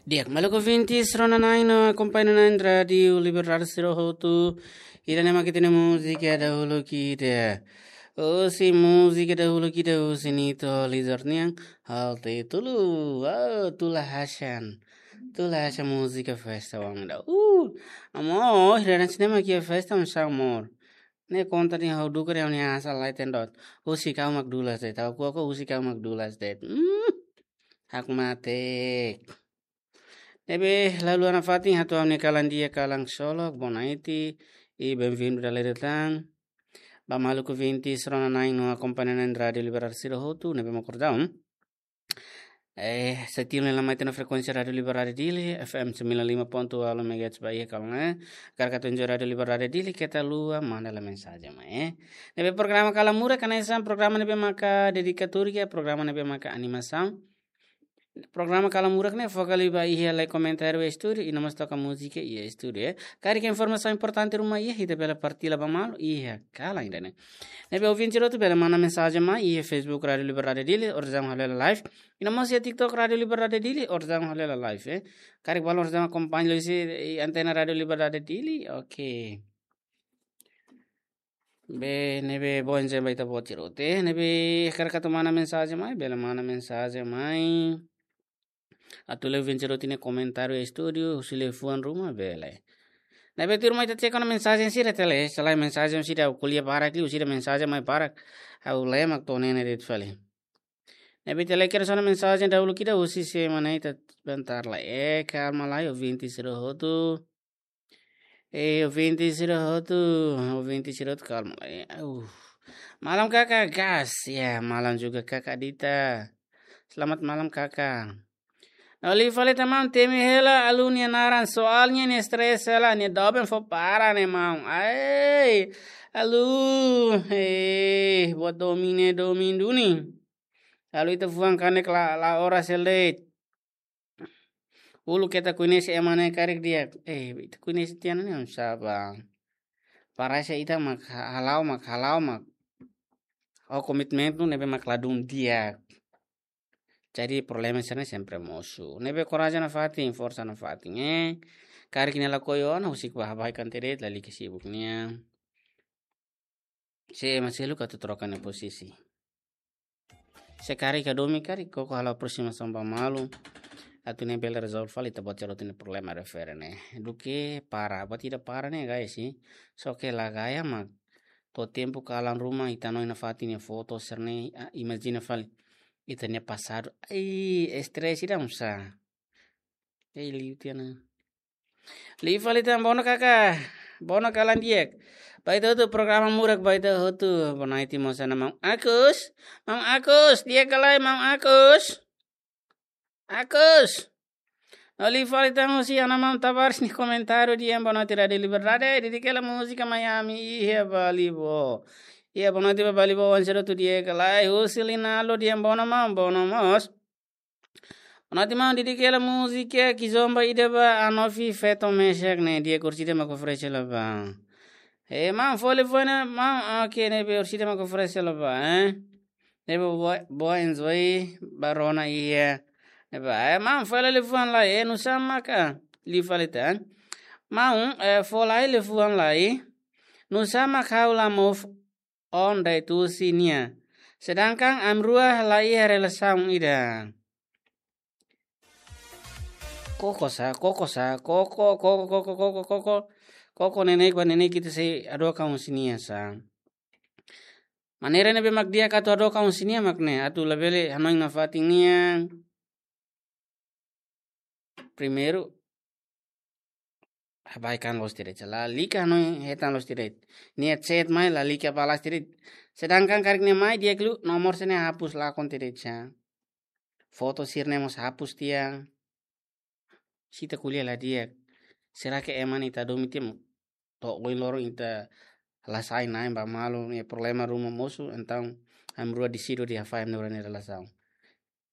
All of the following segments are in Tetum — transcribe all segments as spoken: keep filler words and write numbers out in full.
Di'ak, maluk ouvintes, rona na'in no akompaña na'in Rádiu Liberdade sira hotu. Ida-ne'e mak ita-nia múzika dahuluk ida. Husi múzika dahuluk ida husi Nito Lizard nian, hal títulu, ah, Tula Hasan. Tula Hasan múzika festa wang da. Uh, amor, ida-ne'e mak iha festa, amor. Ne'e konta de'it ha'u duka de'it ha'u-nia asal lae tendot. Husik ha'u mak dulas de'it. Ha'u ko'alia husik ha'u mak dulas de'it. Hmm. Hakmatek. Ne'ebé, halo nafatin atu ami kalan di'ak, kalan ksolok, bonaiti, i benvindu dala ida tan. Ba maluk ouvintes, rona na'in no akompaña na'in Rádiu Liberdade sira hotu, ne'ebé mak kordaun. Eh, setia ne'e mai iha frekuénsia Rádiu Liberdade Dili, F M sembilan lima ponto walu megahertz ba iha kalan, eh. Karik atu enjoy Rádiu Liberdade Dili, keta haluha manda lai mensajen mai, eh. Ne'ebé programa Kalan Murak, hanesan programa ne'ebé maka dedikatóriu, programa ne'ebé maka animasaun. Programa Kalan Murak ne'e foka liu ba iha lai komentáriu estúdiu, i no mós toka múzika iha estúdiu, eh. Karik informasaun importante ruma iha, ita bele partilla ba malu iha kalan ida-ne'e. Ne'ebé ouvinte sira hotu bele manda mensajen mai iha Facebook Rádiu Liberdade Dili, orsida halo hela live. I no mós iha TikTok Rádiu Liberdade Dili, orsida halo hela live, eh. Karik balun orsida akompaña liuhusi antena Rádiu Liberdade Dili, oke. Be, ne'ebé bom dia ba ita-boot sira hotu, eh. Ne'ebé karik atu manda mensajen mai, bele manda mensajen mai. Atu lee ouvinte sira hotu nia komentáriu estúdiu, husi liafuan ruma, bele. Ne'ebé tuirmai ita check ona mensajen sira tele, selae mensajen sira ko'alia barak liu, sira mensajen mai barak. Ha'u lee mak to'o ne'e de'it fali. Ne'ebé ita lee kedas ona mensajen dahuluk ida husi sé mak ne'e, ita bentar lai. Eh, kalma lai, ouvinte sira hotu. Eh, ouvinte sira hotu, ouvinte sira hotu, kalma lai. Eh, uh. Malam Kaka, gas. Ya, malam juga Kaka Dita. Selamat malam, Kaka. Ha'u liu fali tan maun, temi hela alun nia naran, soalnya nia stress hela, nia doben fó para ne'e maun. Ai, alun, eh, buat domin ne'e domin duni. Halo ita fuan kanek la, la oras hela de'it. Uluk ita koñese ema ne'e karik di'ak. Eh, ita koñese tiha ona ne'e oinsá bá. Parese ita mak ha-, hala'o mak, hala'o mak. Oh, komitmentu ne'ebé mak ladún di'ak. Jadi problema sira-ne'e sempre mosu. Ne'ebé korajen nafatin, forsa nafatin, eh. Karik nia lakohi ona, husik bá, bá ikan teret, lalika sibuk nian. Sé ema seluk atu troka nia posisi. Se karik hadomi karik koko halo aproximasaun ba malu. Atu ne'e bele rezolve fali ita-boot sira hotu nia problema refere ne'e. Duké para, buat ida para ne'e guys, eh. Só ke la gaya mak to'o tempu kalan ruma ita hanoin nafatin nia foto sira-ne'e, ah, imajina fali ita-nia pasadu. Ai, stress ida oinsá. Ei, liu tiha ona. Liu fali tan, bono Kaka. Bono kalan di'ak. Ba ita hotu programa Murak ba ita hotu. Bonaiti mós ona maun Agus. Maun Agus, di'ak ka lae maun Agus? Agus. Liu fali tan husi ona maun Tabares nia komentáriu dehan bonaiti Rádiu Liberdade, dedika hela múzika mai ami iha Balibo. Iha bonaiti ba Balibo, oan sira hotu di'ak ka lae, husi Linalo dehan bono maun, bono mós. Bonaiti maun, dedika hela múzika kizomba ida ba Anofi feto mesak ne'e, di'ak, orsida mak oferese hela bá. Eh, maun, fó liafuan ona maun, oke, ne'ebé orsida mak oferese hela bá, eh. Ne'ebé boa, boa enjoy ba rona iha. Ne'ebá, eh, maun, fó lai liafuan lai, eh, nusá maka, liu fali tan. Maun, eh, fó lai liafuan lai. Nusá mak ha'u la move on de'it husi nia. Sedangkan ami rua la iha relasaun ida. Koko sá, koko sá, koko, koko, koko, koko, koko. Koko neineik ba neineik ita sei hadook an husi nia sá. Maneira ne'ebé mak di'ak atu hadook an husi nia mak ne'e, atu labele hanoin nafatin nian. Primeiru, bá ikan loos teret, lalika hanoin hetan loos teret. Nia chat mai, lalika balas teret. Sedangkan karik nia mai di'ak liu, nomor sira-ne'e hapus lakon teret sá. Foto sira-ne'e mós hapus tiha. Se ita ko'alia la di'ak. Será ke ema ne'e ita hadomi tiha mak to'o ohin loron ita la sai na'in ba malu, nia problema ruma mosu, entaun ami rua deside dehan fahe ami rua nia relasaun.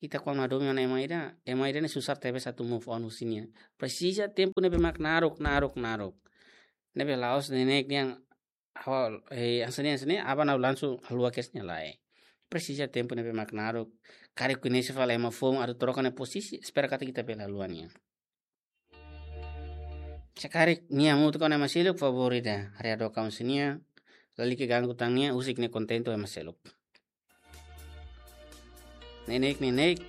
Ita kuandu hadomi ona ema ida, ema ida ne'e susar tebes atu move on husi nia. Presiza tempu ne'ebé mak naruk, naruk, naruk. Ne'ebé la'ós neineik dehan, awal, eh, hanesan ne'e, hanesan ne'e, aban ha'u langsung haluha kedas nia, lae. Presiza tempu ne'ebé mak naruk. Karik koñese fali ema foun atu troka nia posisi, espera katak ita bele haluha nia. Se karik nia hamutuk ho ema seluk, favór ida, haree hadook aun sira-nia, lalika ganggu tan nia, husik nia kontente ho ema seluk. Neineik, neineik.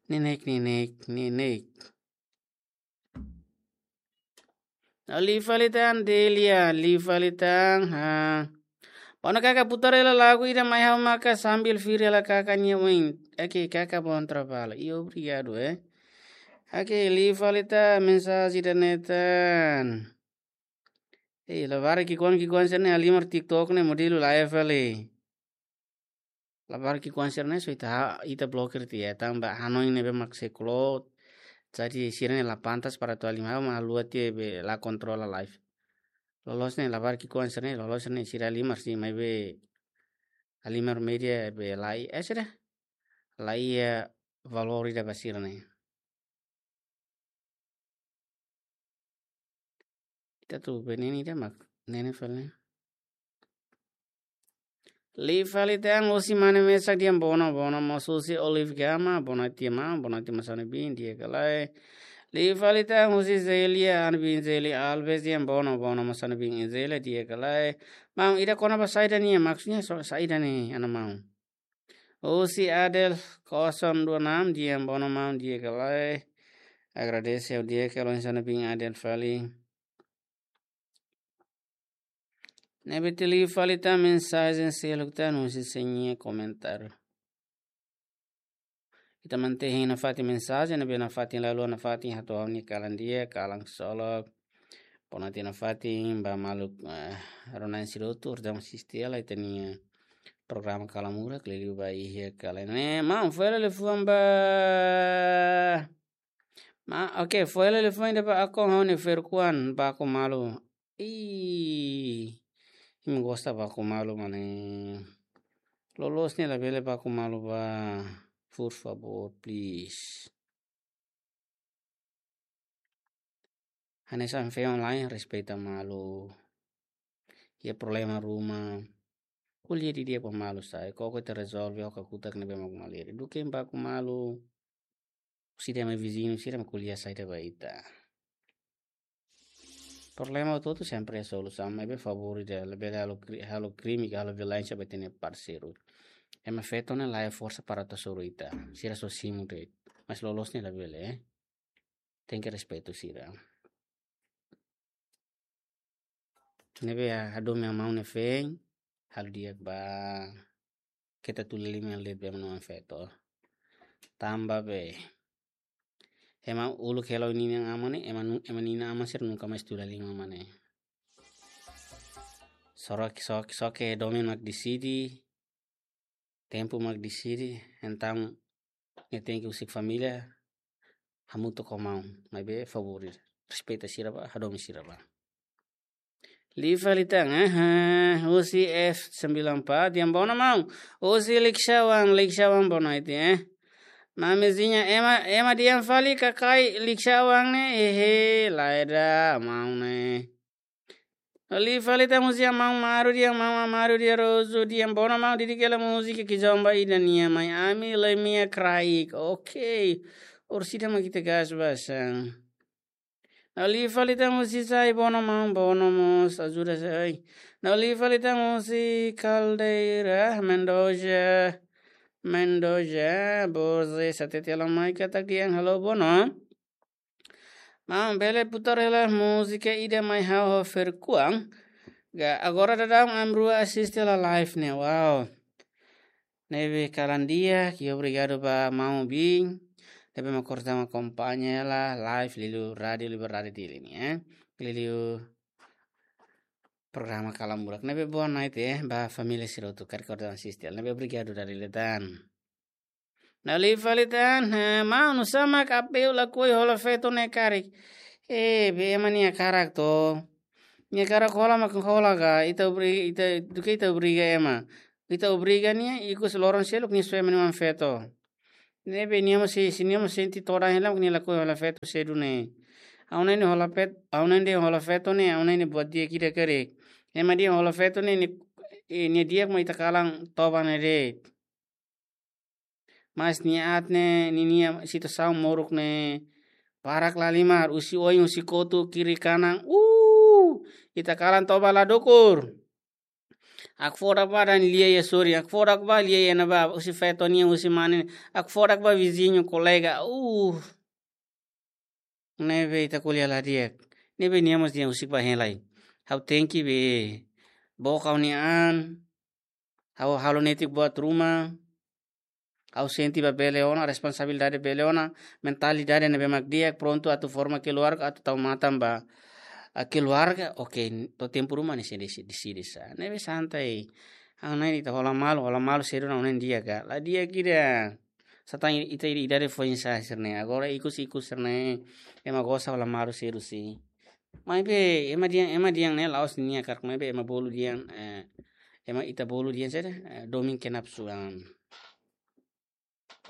Neineik, neineik, neineik. Liu fali tan Delia, liu fali tan, ha. Bonu kaka, putar hela lagu ida mai ha'u maka sambil firi hela kaka nia oin. Oke, kaka, bom trabalho. E obrigado, eh. Oke, liu fali tan, mensajen ida-ne'e tan. Eh, labarik ki'ikoan ki'ikoan sira-ne'e halimar TikTok ne'e modelu laiha fali. Labarik ki'ikoan sira-ne'e só ita ha-, ita blokir tiha, tanba hanoin ne'ebé mak sei upload. Jadi sira-ne'e la pantas para atu halimar, mak haluha tiha be la kontrola live. Loloos ne'e labarik ki'ikoan sira-ne'e, loloos ne'e sira halimar, sira maibé halimar média be laiha, eh, sira. Laiha valór ida ba sira-ne'e. Ita atu be nene ida mak, nene fali. Liu fali tan husi mane mesak dehan bonu, bonu mós husi Olive Gama, boa noite maun, boa noite maun Sano Bin, di'ak ka lae. Liu fali tan husi Zelia, an bin Zelia Alves dehan bonu, bonu maun Sano Bin, Zelia, di'ak ka lae. Maun, ida kona-ba saida nian, maksudnya so-, saida ne'e, ana maun. Husi Adel kosong dua enam, dehan bonu maun, di'ak ka lae. Agradese ha'u di'ak ka lae Sano Bin Adel fali. Ne'ebé liu fali tan mensajen seluk tan husi sira-nia komentáriu. Ita mantein nafatin mensajen, ne'ebé nafatin lalu nafatin hato'o ha'u-nia kalan di'ak, kalan ksolok. Boa noite nafatin ba maluk, eh, rona-na'in sira hotu, orsida mak asiste hela ita-nia programa Kalan Murak, liuliu ba iha kalan ne'e. Maun, fó hela liafuan ba. Ma, oke, fó hela liafuan ida ba akun ha'u-nia Ferkuan, baku malu. Ih, imi gosta baku malu, mane. Loloos ne'e labele baku malu ba, por favor, please. Hanesan feen lae, respeita malu. Iha problema ruma, ko'alia didi'ak ba malu sa'e, koko ita rezolve ho kakutak ne'ebé mak malirin. Duké baku malu, sira mai viziñu, sira mai ko'alia saida ba ita. Problema hotu-hotu sempre iha solusaun, maibé favór ida, labele halo kri-, halo krime, halo violénsia ba ita-nia parseiru. Ema feto ne'e laiha forsa para atu hasoru ita. Sira só simu de'it. Mas loloos ne'e labele, eh. Tenke respeitu sira. Ne'ebé hadomi maun nia feen, halo di'ak ba, keta tuli liman liu be maun feto. Tanba be, ema uluk hela ho ninia aman ne'e, ema nu-, ema ninia aman sira nunka mais tuli liman mane. Só ke, só ke, só ke domin mak deside, tempu mak deside, entaun nia tenke husik família hamutuk ho maun, maibé favór, respeita sira ba, hadomi sira ba. Liu fali tan, eh, eh, husi F sembilan empat, dehan bonu maun, husi Likisau an, Likisau an boa noite, eh. Mamizinha, ema, ema dehan fali kakai Likisau an ne'e, ehe, lae ida, maun ne'e. Liu fali tan husi maun Maru dehan, maun Maru dehan Rosu dehan bonu maun, didik hela múzika kizomba ida nian mai ami, Lemia Kraik. Oke. Orsida mak ita gas ba san. Liu fali tan husi Sai, bonu maun, bonu mós, ajuda sai. Liu fali tan husi Caldeira, Mendoza. Mendoza, Boze, satete alam mai katak dehan halo bonu. Maun, bele putar hela múzika ida mai ha'u ho Ferkuan. Ga, agora daudaun ami rua asiste hela live ne'e. Wow. Ne'ebé kalan di'ak, obrigadu ba maun Bin. Ne'ebé mak orsida mak akompaña hela live liuliu Rádio Liberdade Dili ne'e, eh. Liuliu programa Kalan Murak. Ne'ebé boa noite, eh, ba família sira hotu karik orsida asiste. Ne'ebé obrigadu dala ida tan. Liu fali tan, eh, maun, nusá mak Apeu lakohi hola feto ne'e karik. Eh, be ema nia hakarak to. Nia hakarak hola mak hola ka, ita obri-, ita, duké ita obriga ema. Ita obriga nia, ikus loron seluk nia soe ema nia oan feto. Ne'ebé nia mós se, se nia mós sente todan hela mak nia lakohi hola feto sedu ne'e. Ha'u hanoin hola fet-, ha'u hanoin hola feto ne'e, ha'u hanoin buat di'ak ida karik. Ema dehan hola feto ne'e, nia, eh, nia di'ak mak ita kalan toba ne'e de'it. Mas nia aat ne'e, ninia situasaun moruk ne'e, Barak lahalimar, husi oin, husi kotuk, kiri kanan. Uh, ita kalan toba la dukur. Hakfodak ba dehan lia iha sorin, hakfodak ba lia iha ne'ebá, husi feto nian, husi mane nian, hakfodak ba viziñu, kolega. Uh. Ne'ebé ita ko'alia la di'ak. Ne'ebé nia mós dehan husik ba hein lai. Ha'u tenke be book ha'u-nia an. Ha'u halo netik buat ruma. Ha'u sente ba bele ona, responsabilidade bele ona, mentalidade ne'ebé mak di'ak, prontu atu forma keluarga, atu tau matan ba, ah, keluarga, oke, to'o tempu ruma nia sei desi-, deside sá. Ne'ebé santai. Ha'u-nia an ita hola malu, hola malu sedu ona ne'e di'ak ka. La di'ak ida. Satán ita ida, ida de foin sa serne. Agora ikus-ikus serne. Ema gosta hola malu sedu si. Maibé, ema dehan, ema dehan ne'e la'ós nia karik, maibé ema bolu dehan, eh, ema ita bolu dehan saida, eh, domin kenapsu an.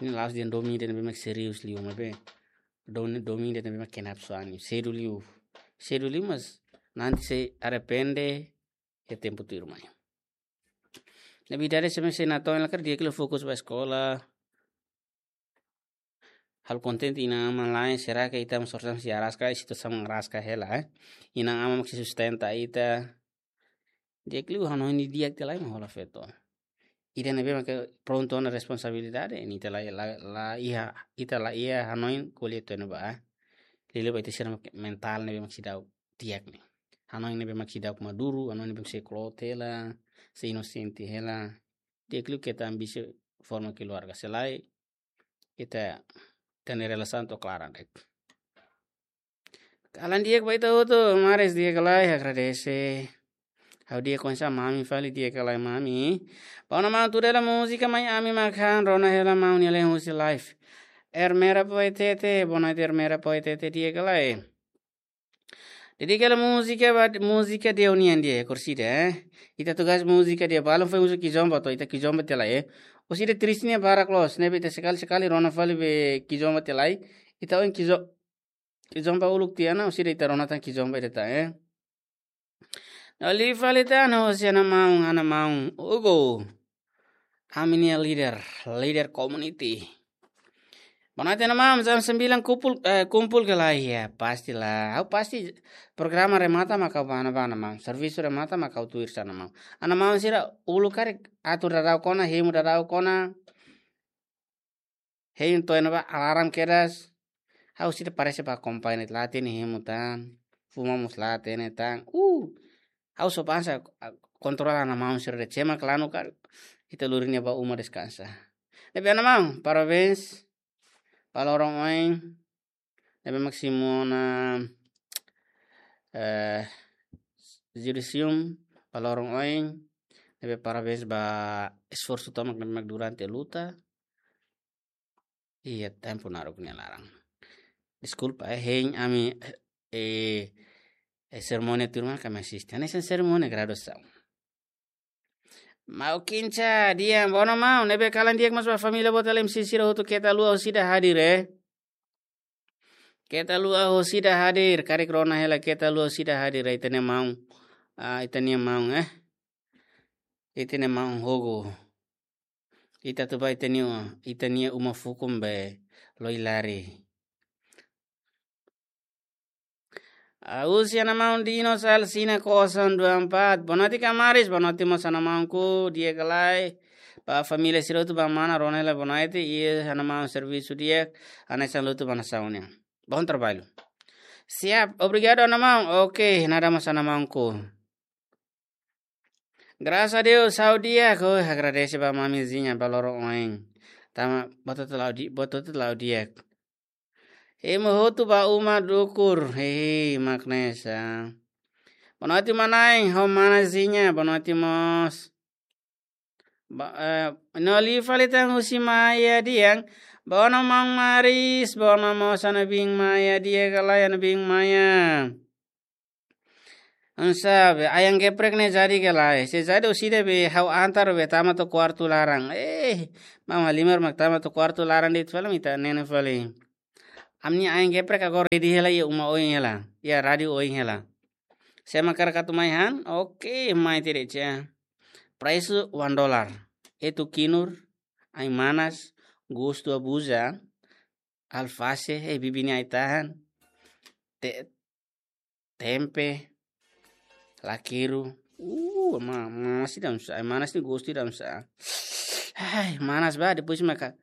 Ne'e la'ós dehan domin ida ne'ebé mak serius liu, maibé domin, domin ida ne'ebé mak kenapsu an, sedu liu. Sedu liu, mas nanti sei arrepende iha tempu tuirmai. Ne'ebé idade sira-ne'e sei natoon hela karik di'ak liu fokus ba eskola. Halo kontente inan-aman la'en, será que ita mós orsida sei araska, situasaun araska hela, eh? Inan-aman mak sei sustenta ita. Di'ak liu hanoin didi'ak tiha lai mak hola feto. Ida ne'ebé mak prontu ona responsabilidade, ne'e ita la, la, la iha, ita la iha hanoin ko'alia tiha ona ba, eh? Liuliu ba ita sira mak mentál ne'ebé mak seidauk di'ak ne'e. Hanoin ne'ebé mak seidauk maduru, hanoin ne'ebé mak sei kloot hela, sei inosente hela. Di'ak liu keta ambisi forma keluarga, se lae ita tenke relasaun to'o klaran de'it. Kalan di'ak ba ita hotu, maris di'ak ka lae, agradese. Ha'u di'ak konsa mami fali, di'ak ka lae mami. Ba ona maun, tuda hela múzika mai ami mak han, rona hela maun nia lehan husi live. Ermera Poetete, boa noite Ermera Poetete, di'ak ka lae. Dedika hela múzika ba, múzika de união de Corsida, eh. Ita tugas múzika de balun foi uso kizomba to, ita kizomba tiha lai, eh. Orsida triste nia barak loos, ne'ebé ita sekali-sekali rona fali be kizomba tiha lai. Ita oin kizo-, kizomba uluk tiha ona, orsida ita rona tan kizomba ida tan, eh. Ne'e liu fali tan, hosi ana maun, ana maun Hugo. Ami-nia líder, líder community. Boa noite, ana maun, jam sembilan kumpul, eh, kumpul ka lae, ya, pasti lah. Ha'u pasti programa remata mak ha'u ba ne'ebá, ana maun. Servisu remata mak ha'u tuir sá, ana maun. Ana maun sira uluk karik atur daudaun ona, hemu daudaun ona. Hein to'o iha ne'ebá alarm kedas. Ha'u sira parese ba akompaña, la hatene hemu tan. Fuma mós la hatene tan. Uh. Ha'u só basa, ah, kontrola ana maun sira de'it, se ema klanu karik, ita lori nia ba uma deskansa. Ne'ebé ana maun, parabéns. Ba loron oin. Ne'ebé mak simu ona, eh, judisium, ba loron oin. Ne'ebé parabéns ba esforsu tomak ne'ebé mak durante luta. Iha tempu naruk nia laran. Deskulpa, eh, hein ami, eh, eh, serimónia tuirmai mak ami asiste. Hanesan serimónia graduasaun. Maun Kinca, di'ak, boa noite maun. Ne'ebé kalan di'ak mós ba família boot hela, M C sira hotu, keta haluha orsida hadir, eh. Keta haluha orsida hadir, karik rona hela, keta haluha orsida hadir, eh, ita-nia maun. Ah, ita-nia maun, eh. Ita-nia maun Hugo. Ita atu ba ita-nia, ita-nia uma fukun be Loilari. Ah, husi ana maun Dino Salsina kosong dua empat. Boa noite, kamaris. Boa noite mós ana maunku, di'ak ka lae. Ba família sira hotu, ba mana, rona hela boa noite. Iha ana maun servisu di'ak, hanesan lutu ba nasaun nian. Bom trabalho. Siap, obrigadu ana maun. Oke, nada mós ana maunku. Graças a Deus, ha'u di'ak, ha'u agradese ba mamizinha ba loron oin. Tanba buat hotu la'o di-, buat hotu la'o di'ak. Hemu hotu ba uma dukur, hehe, mak ne'e sá. Boa noite, mana-in, ho manazinha, boa noite mós. Ba, eh, ne'e liu fali tan husi Maia Diang, boa noite maun Maris, boa noite mós ana biin Maia, di'ak ka lae ana biin Maia. Hanesan be ayam geprek ne'e jadi ka lae. Se jadi orsida be ha'u antar be tama to'o kuartu laran. Eh, maun halimar mak tama to'o kuartu laran de'it fali, mak ita nene fali. Ami-nia ayam geprek agora ready hela iha uma oin hela. Iha rádiu oin hela. Se ema hakarak atu mai han, oke, mai tiha de'it. Presu one dollar. Etu kinur, ai-manas, gostu abuza. alfase, eh, bibi nia ai-tahan. Te-, tempe, lakeru. Uh, ma-, manas ida oinsá, ai, manas ne'e gostu ida oinsá. Ai, manas ba, depois maka,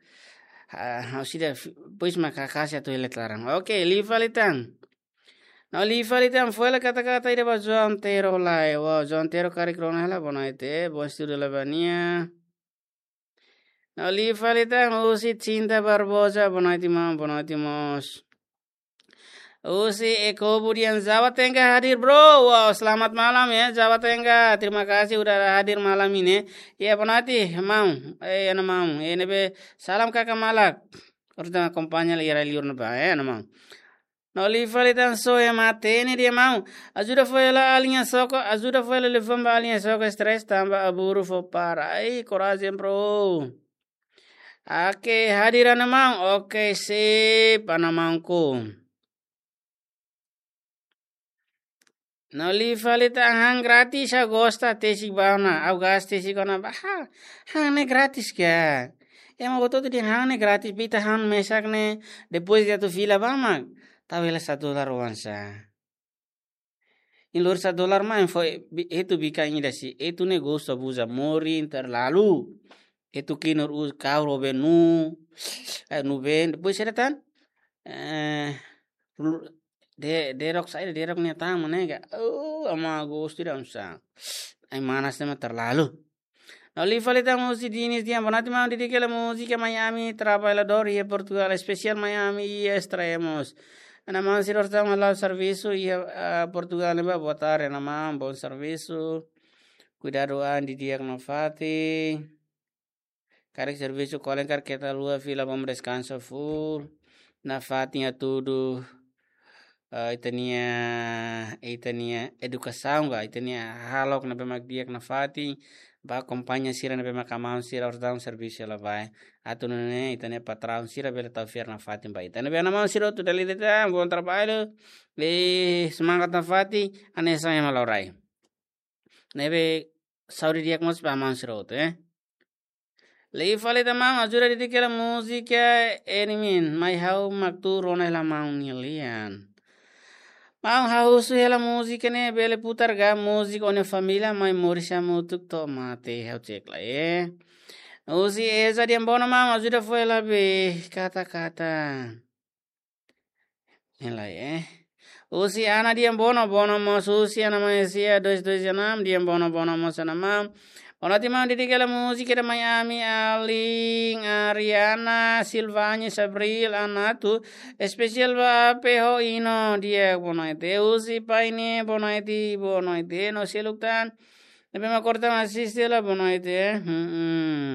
ah, ha'u sida fi-, depois maka kasi atu hele laran. Oke, liu fali tan. No liu fali tan, foin hela kata-kata ida ba João Tero lai. Wow, João Tero karik rona hela, boa noite, bom estudo lá ba nia. No liu fali tan, husi Cinta Barbosa, boa noite, maun, boa noite, mós. Husi Eko Budian, Jawa Tengah hadir, bro. Wow, selamat malam ya, Jawa Tengah. Terima kasih udah hadir malam ini. Ya, boa noite, maun. Eh, ana maun. Eh, ne'ebé, salam kaka malak. Ora akompaña lai rai liur ne'ebá, eh, ana maun. No liu fali tan, só ema hatene de'it, maun. Ajuda fó hela alin Soko, ajuda fó hela liafuan ba alin Soko, stress tanba aburu fó para. Ai, korajen, bro. Oke, hadir ana maun. Oke, sip, ana maunku. No liu fali tan, han gratis ha'u gosta, tesik ba ona, ha'u gas tesik ona ba, ha, han ne'e gratis ka. Ema hotu-hotu dehan han ne'e gratis, ita han mesak ne'e, depois ita atu fila ba mak tau hela satu dolar oinsá. Iha lori satu dolar mai fó, bi-, etu bikan ida si, etu ne'e gosta buza morin terlalu. Etu kinur us kau robe nu, eh, nu ben, depois sira tan. Eh, lu-, de-, derok saida, derok nia tama ne'e ka. Oh, ama gostu ida oinsá. Ai manas ne'e mak terlalu. No liu fali tan husi Dinis dehan, boa noite maun, dedika hela múzika Miami, trabalhador iha Portugal, espesiál Miami iha Estremoz. Ana maun sira hotu mak la'o servisu iha, ah, Portugal ne'ebá, boa tarde, ana maun, bom servisu. Kuidadu an didi'ak nafatin. Karik servisu kolen karik keta haluha fila, bom deskansa full. Nafatin hatudu, eh, ita-nia, ita-nia edukasaun ka, ita-nia hahalok ne'ebé mak di'ak nafatin, ba akompaña sira ne'ebé mak maun sira hotu servisu hela ba. Atu nune'e ita-nia patraun sira bele tau fiar nafatin ba ita. Ne'ebé ana maun sira hotu dala ida tan, bom trabalho. Eh, semangat nafatin, hanesan ema la'o rai. Ne'ebé saúde di'ak mós ba maun sira hotu, eh. Liu fali tan maun, ajuda dedika hela múzika Enimin, mai ha'u mak tuur ona hela maun nia lian. Maun, ha'u husu hela múzika ne'e bele putar ka, múzika Ó-nia Família, mai moris hamutuk to'o mate, ha'u cek lai, eh. Husi Eza dehan, boa noite maun, ajuda fó hela be kata-kata. Ne'e lai, eh. Husi Ana dehan, boa noite, boa noite mós husi Ana Malaysia dois dois enam, dehan boa noite, boa noite mós ana maun. Boa noite maun, dedika hela múzika ida mai ami, alin Ariana, Silvani, Sabril, Anatu, espesiál ba P H Ino, di'ak boa noite. Husi Paine, boa noite, boa noite. No seluk tan, ne'ebé mak hotu asiste hela, boa noite, eh. Hmm, hmm.